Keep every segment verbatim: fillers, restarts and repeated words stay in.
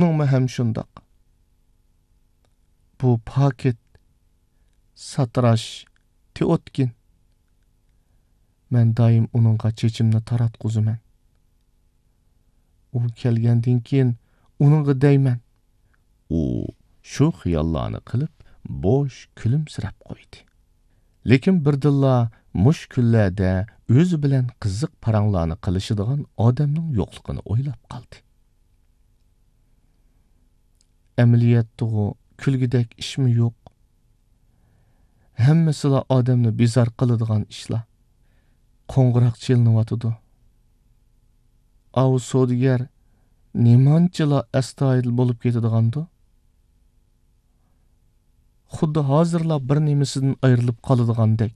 ئۇنىڭمۇ ھەم شۇنداق. بۇ پاكىت، ساتىراش تېئوتكىن. مەن دائىم ئۇنىڭغا چېچىمنى تاراتقۇزىمەن. ئۇ كەلگەندىن كېيىن ئۇنىڭغا دەيمەن. ئۇ شۇ خىياللارنى قىلىپ، بوش كۈلۈمسىرەپ قويدى. لېكىن بىردىنلا مۇشۇ كۈنلەردە ئۆزى بىلەن قىزىق پاراڭلارنى قىلىشىدىغان ئادەمنىڭ يوقلۇقىنى ئويلاپ قالدى. ئەمەلىيەتتىغۇ كۈلگۈدەك ئىشمۇ يوق. ھەممىسىلا ئادەمنى بىزار قىلىدىغان ئىشلار. قوڭغۇراق چېلىنىۋاتىدۇ. ئاۋۇ سودىگەر نېمانچىلا ئەستايىدىل بولۇپ كېتىدىغاندۇ؟ خۇددى ھازىرلا بىر نېمىسىدىن ئايرىلىپ قالىدىغاندەك.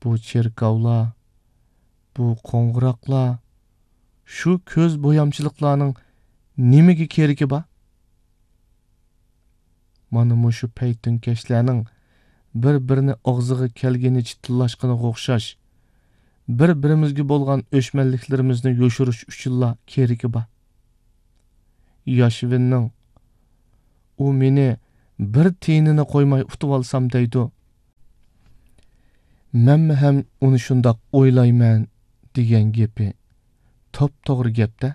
بۇ چېركاۋلار، بۇ قوڭغۇراقلار، شۇ كۆز بويامچىلىقلارنىڭ نېمىگە كېرىكى بار؟ مانا مۇشۇ پەيتۈنكەشلەرنىڭ بىر-بىرىنى ئاغزىغا كەلگىنىچە تىللاشقىنىغا ئوخشاش، بىر-بىرىمىزگە بولغان ئۆچمەنلىكلىرىمىزنى يوشۇرۇش ئۈچۈنلا كېرىكى بار. ياشۋىننىڭ، ئۇ مېنى بىر تىيىنىنى قويماي ئۇتۇۋالسام دەيدۇ. مەنمۇ ھەم ئۇنى شۇنداق ئويلايمەن دېگەن گېپى توپتوغرا گەپتە.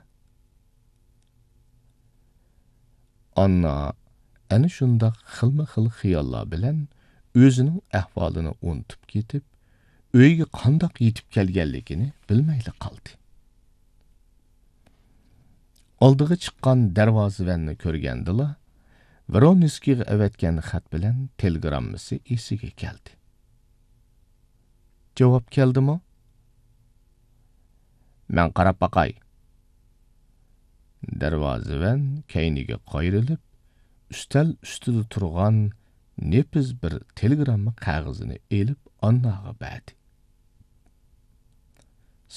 ئاننا ئەنە شۇنداق خىلمۇ خىل خىياللار بىلەن ئۆزىنىڭ ئەھۋالىنى ئۇنتۇپ كېتىپ، ئۆيگە قانداق يېتىپ كەلگەنلىكىنى بىلمەيلا قالدى. ئالدىغا چىققان دەرۋازىۋەننى كۆرگەندىلا، ۋرونسكىيغا ئەۋەتكەن خەت بىلەن تېلېگراممىسى ئېسىگە كەلدى. جاۋاب كەلدىمۇ؟ مەن قاراپ باقاي. دەرۋازىۋەن كەينىگە قايرىلىپ، ئۈستەل ئۈستىدە تۇرغان نېپىز بىر تېلېگرامما قەغىزىنى ئېلىپ ئانناغا بەردى.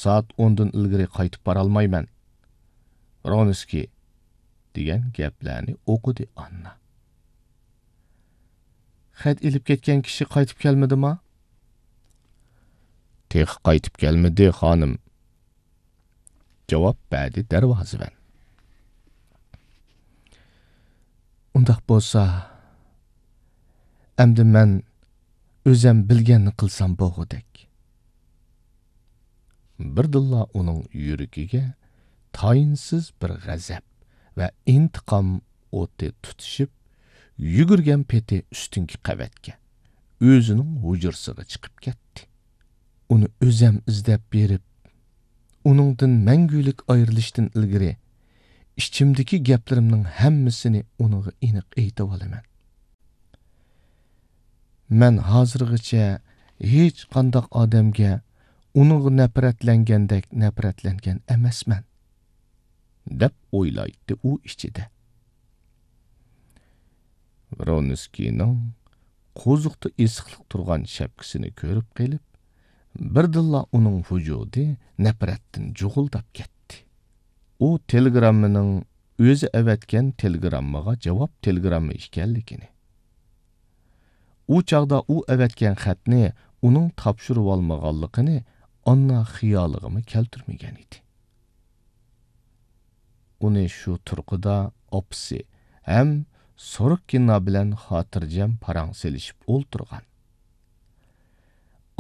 سائەت ئوندىن ئىلگىرى قايتىپ بارالمايمەن. ۋرونسكىي، دېگەن گەپلەرنى ئوقۇدى ئاننا. خەت ئېلىپ كەتكەن كىشى قايتىپ كەلمىدىما؟ تېخى قايتىپ كەلمىدى، خانىم. جاۋاب بەردى دەرۋازىۋەن. ئۇنداق بولسا، ئەمدى مەن ئۆزەم بىلگەننى قىلسام بولغۇدەك. بىردىنلا ئۇنىڭ يۈرىكىگە تايىنسىز بىر غەزەپ ۋە ئىنتىقام ئوتى تۇتىشىپ، يۈگۈرگەن پېتى ئۈستۈنكى قەۋەتكە، ئۆزىنىڭ ھۇجرىسىغا چىقىپ كەتتى. ئۇنى ئۆزەم ئىزدەپ بېرىپ، ئۇنىڭدىن مەڭگۈلۈك ئايرىلىشتىن ئىلگىرى، ئىچىمدىكى گەپلىرىمنىڭ ھەممىسىنى ئۇنىڭغا ئېنىق ئېيتىۋالىمەن. مەن ھازىرغىچە ھېچقانداق ئادەمگە ئۇنىڭغا نەپرەتلەنگەندەك نەپرەتلەنگەن ئەمەسمەن، دەپ ئويلايتتى ئۇ ئىچىدە. ۋرونسكىينىڭ قوزۇقتا ئېسىقلىق تۇرغان شەپكىسىنى كۆرۈپ قېلىپ، بىردىنلا ئۇنىڭ ۋۇجۇدى نەپرەتتىن جۇغۇلداپ كەتتى. ئۇ تېلېگراممىنىڭ ئۆزى ئەۋەتكەن تېلېگراممىغا جاۋاب تېلېگرامما ئىكەنلىكىنى، ئۇ چاغدا ئۇ ئەۋەتكەن خەتنى ئۇنىڭ تاپشۇرۇۋالمىغانلىقىنى ئاننا خىيالىغىمۇ كەلتۈرمىگەن ئىدى. ئۇنى شۇ تۇرقىدا ئاپىسى ھەم سوروككىنا بىلەن خاتىرجەم پاراڭ سېلىشىپ ئولتۇرغان،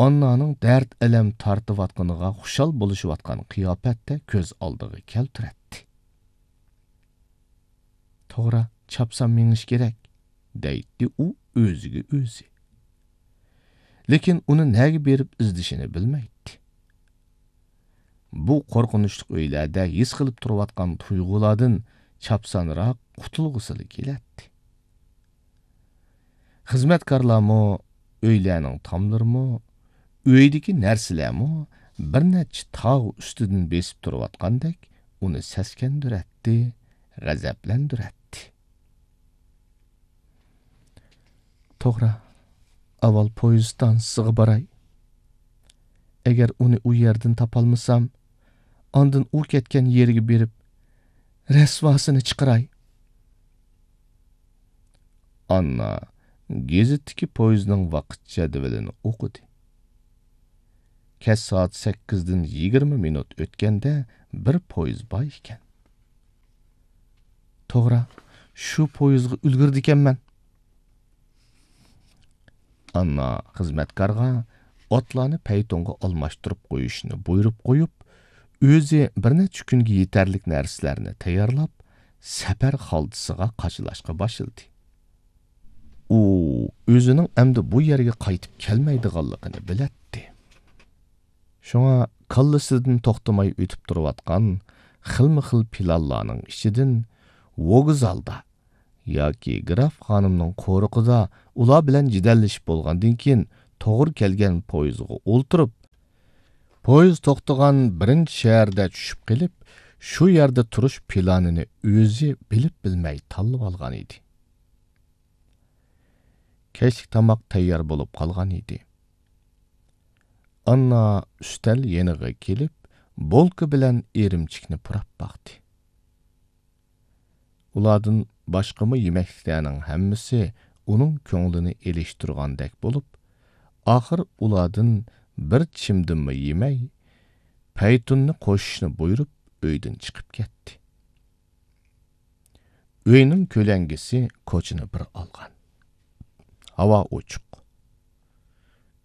ئاننانىڭ دەرد-ئەلەم تارتىۋاتقىنىغا خۇشال بولۇشۇۋاتقان قىياپەتتە كۆز ئالدىغا كەلتۈرەتتى. توغرا، چاپسان مېڭىش كېرەك، دەيتتى ئۇ ئۆزىگە ئۆزى. لېكىن ئۇنى نەگە بېرىپ ئىزدىشىنى بىلمەيتتى. بۇ قورقۇنچلۇق ئۆيلەردە ھېس قىلىپ تۇرۇۋاتقان تۇيغۇلاردىن چاپسانراق قۇتۇلغۇسىلا كېلەتتى. خىزمەتكارلارمۇ، ئۆيلەرنىڭ تاملىرىمۇ، ئۆيدىكى نەرسىلەرمۇ بىر نەچچە تاغ ئۈستىدىن بېسىپ تۇرۇۋاتقاندەك ئۇنى سەسكەندۈرەتتى، غەزەپلەندۈرەتتى. توغرا، ئاۋۋال پويىز ئىستانسىسىغا باراي. ئەگەر ئۇنى ئۇ يەردىن تاپالمىسام، ئاندىن ئۇ كەتكەن يېرىگە بېرىپ، رەسۋاسىنى چىقىراي. ئاننا گېزىتتىكى پويىزنىڭ ۋاقىت جەدۋىلىنى ئوقۇدى. كەچ سائەت سەككىزدىن يىگىرمە مىنۇت ئۆتكەندە بىر پويىز بار ئىكەن. توغرا، شۇ پويىزغا ئۈلگۈرىدىكەنمەن. ئاننا خىزمەتكارغا ئاتلارنى پەيتۇنغا ئالماشتۇرۇپ قويۇشنى بۇيرۇپ قويۇپ، ئۆزى بىر نەچچە كۈنگە يېتەرلىك نەرسىلەرنى تەييارلاپ، سەپەر خالتىسىغا قاچىلاشقا باشلىدى. ئۇ ئۆزىنىڭ ئەمدى بۇ يەرگە قايتىپ كەلمەيدىغانلىقىنى بىلەتتى. شۇڭا كاللىسىدىن توختىماي ئۆتۈپ تۇرۇۋاتقان خىلمۇ خىل پىلانلارنىڭ ئىچىدىن ۋوگزالدا ياكى گراف خانىمنىڭ قورۇقىدا ئۇلار بىلەن جېدەللىشىپ بولغاندىن كېيىن توغرا كەلگەن پويىزغا ئولتۇرۇپ، پويىز توختىغان بىرىنچى شەھەردە چۈشۈپ قېلىپ، شۇ يەردە تۇرۇش پىلانىنى ئۆزى بىلىپ بىلمەي تاللىۋالغان ئىدى. كەچلىك تاماق تەييار بولۇپ قالغان ئىدى. ئاننا ئۈستەل يېنىغا كېلىپ، بولكا بىلەن ئىرىمچىكنى پۇراپ باقتى. ئۇلاردىن باشقىمۇ يېمەكلىكلەرنىڭ ھەممىسى ئۇنىڭ كۆڭلىنى ئېلىشتۇرغاندەك بولۇپ، ئاخىر ئۇلاردىن بىر چىمدىممۇ يېمەي، پەيتۇننى قوشۇشنى بۇيرۇپ، ئۆيدىن چىقىپ كەتتى. ئۆينىڭ كۆلەڭگىسى كوچىنى بىر ئالغان. ھاۋا ئوچۇق.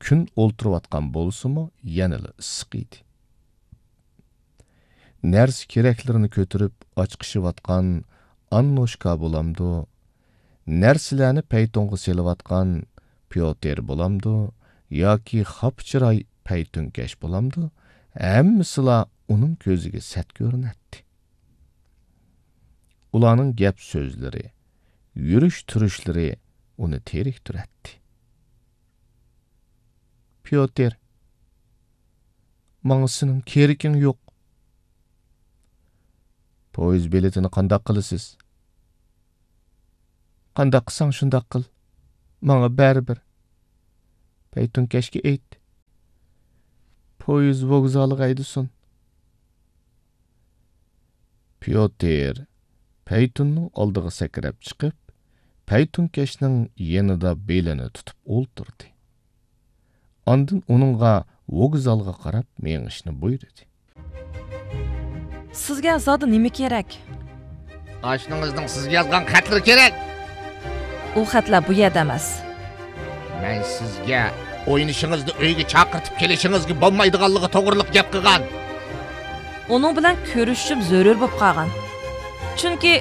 كۈن ئولتۇرۇۋاتقان بولسىمۇ، يەنىلا ئىسسىق ئىدى. نەرسە-كېرەكلىرىنى كۆتۈرۈپ ئاچىقىشىۋاتقان ئاننوشكا بولامدۇ، نەرسىلەرنى پەيتۇنغا سېلىۋاتقان پيوتىر بولامدۇ ياكى خاپا چىراي پەيتۇنكەش بولامدۇ، ھەممىسىلا ئۇنىڭ كۆزىگە سەت كۆرۈنەتتى. ئۇلارنىڭ گەپ-سۆزلىرى، يۈرۈش-تۇرۇشلىرى ئۇنى تېرىكتۈرەتتى. پيوتىر، ماڭا سېنىڭ كېرىكىڭ يوق. پويىز بېلىتىنى قانداق قىلىسىز؟ قانداق قىلساڭ شۇنداق قىل. ماڭا بەرىبىر. پەيتۇنكەشكە ئېيت، پويىز ۋوگزالىغا ھەيدىسۇن. پيوتىر پەيتۇننىڭ ئالدىغا سەكرەپ چىقىپ، پەيتۇنكەشنىڭ يېنىدا بېلىنى تۇتۇپ ئولتۇردى. ئاندىن ئۇنىڭغا ۋوگزالغا قاراپ مېڭىشنى بۇيرۇدى. سىزگە زادى نېمە كېرەك؟ ئاشنىڭىزنىڭ سىزگە يازغان خەتلىرى كېرەك. ئۇ خەتلەر بۇ يەردە ئەمەس. مەن سىزگە ئوينىشىڭىزنى ئۆيگە چاقىرتىپ كېلىشىڭىزگە بولمايدىغانلىقى توغرىلىق گەپ قىلغان. ئۇنىڭ بىلەن كۆرۈشۈشۈم زۆرۈر بولۇپ قالغان. چۈنكى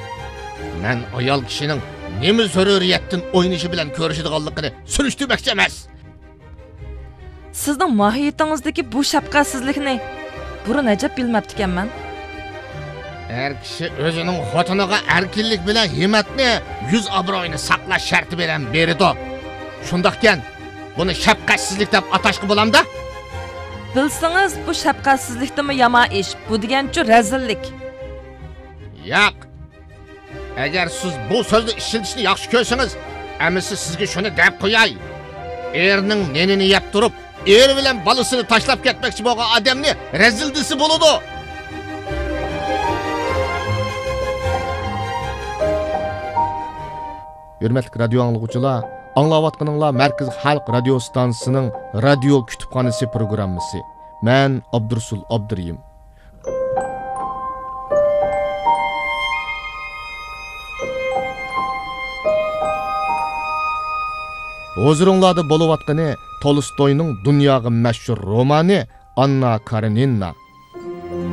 مەن ئايال كىشىنىڭ نېمە زۆرۈرىيەتتىن ئوينىشى بىلەن كۆرۈشىدىغانلىقىنى سۈرۈشتۈرمەكچى ئەمەس. سىزنىڭ ماھىيىتىڭىزدىكى بۇ شەپقەتسىزلىكنى بۇرۇن ئەجەب بىلمەپتىكەنمەن. ئەر كىشى ئۆزىنىڭ خوتۇنىغا ئەركىنلىك بىلەن ھىممەتنى، يۈز ئابرۇيىنى ساقلاش شەرتى بىلەن بېرىدۇ. شۇنداقكەن، بۇنى شەپقەتسىزلىك دەپ ئاتاشقا بولامدا؟ بىلسىڭىز، بۇ شەپقەتسىزلىكتىنمۇ يامان ئىش. بۇ دېگەنچۇ رەزىللىك. ياق. ئەگەر سىز بۇ سۆزنى ئىشلىتىشنى ياخشى كۆرسىڭىز، ئەمىسە سىزگە شۇنى دەپ قوياي. ئېرىنىڭ نېنىنى يەپ تۇرۇپ، ئېرى بىلەن بالىسىنى تاشلاپ كەتمەكچى بولغان ئادەمنى رەزىل دېسە بولىدۇ. ھۆرمەتلىك رادىيو ئاڭلىغۇچىلار، ئاڭلاۋاتقىنىڭلار مەركىزىي خەلق رادىيو ستانسىسىنىڭ رادىيو كۇتۇپخانىسى پروگراممىسى. مەن ئابدۇرۇسۇل ئابدۇرېھىم. ھۇزۇرۇڭلاردا بولۇۋاتقىنى تولستوينىڭ دۇنياغا مەشھۇر رومانى ئاننا كارېنىنا.